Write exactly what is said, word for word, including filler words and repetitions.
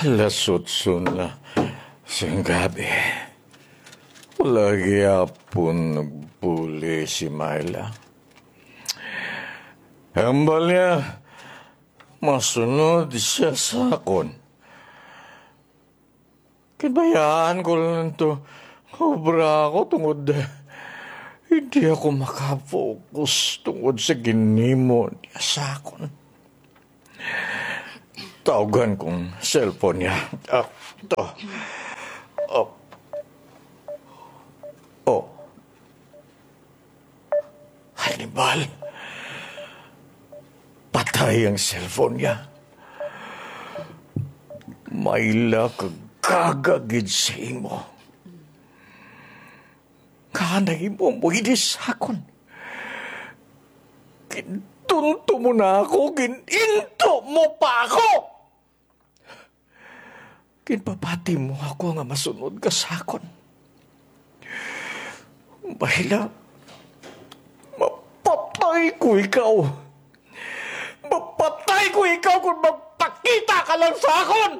Alas otso na sing gabi. Wala gyapon nagbuli si Myla. Hambal niya, masunod siya sa akon. Kinbayaan ko lang to. Obra ako tungod hindi ako maka-focus tungod sa ginimo niya sa akon. Tawgan kong cellphone niya. Ah, to. Oh. Oh. Hannibal. Patay ang cellphone niya. Myla, kagaga gid sa imo. Nga nahimo mo ini sa akon. Gintunto mo na ako, gininto mo pa ako. Ginpapati mo ako nga masunod ka sa akon. Myla, mapatay ko ikaw. Mapatay ko ikaw kung magpakita ka lang sa akon.